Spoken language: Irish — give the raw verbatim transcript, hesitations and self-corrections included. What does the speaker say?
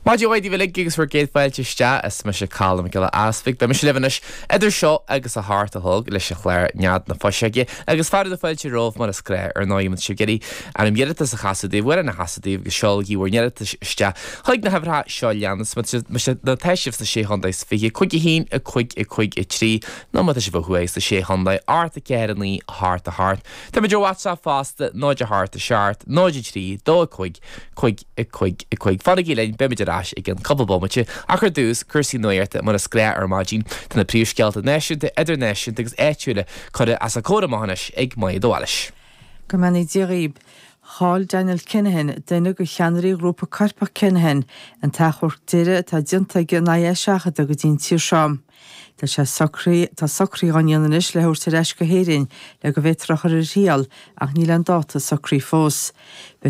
Maidin mhaith daoibh uilig agus bhur gcéad fáilte isteach is mise Colm Mac Giolla Easpaig. Beidh mise libh anois idir seo agus a hocht a chlog leis an chlár Nead na Fuiseoige agus fearadh na fáilte romhaibh mar is gnách ar ndóigh má tá sibh ag iarraidh ainm iarratas a chasadh daoibh amhrán a chasadh daoibh agus seolaigí bhur n-iarratais isteach chuig na huimhreacha seo leanas má tá sibh sna sé chontae is fiche cúig a haon a cúig a cúig a trí nó má tá sibh ó thuaidh sna sé chontae ocht a ceathair a naoi a hocht a hocht. Táimid ar WhatsApp fosta náid a hocht a seacht náid a trí dó a cúig cúig a cúig a cúig. Fanaigí linn beimid ar ais i gceann cúpla bomaite ach ar dtús cúrsaí nuachta mar is gnách ar maidin tá na príomhscéalta náisiúnta idirnáisiúnta agus áitiúla curtha os ár gcomhair amach anois ag Maigh Dóhailis. Go mbeannaí Dia dhaoib. Chaill Daniel Kinahan, duine de cheannairí ghrúpa coirpeach Kinahan, an t-achomharc deiridh atá déanta aige in aghaidh é a sheachadadh go dtí an tír seo. Tá sé socraí tá socruithe á ndéanamh anois le thabhairt ar ais go hÉirinn le go bhféadfar a chur ar a thriail ach níl an dáta socraithe fós. Beidh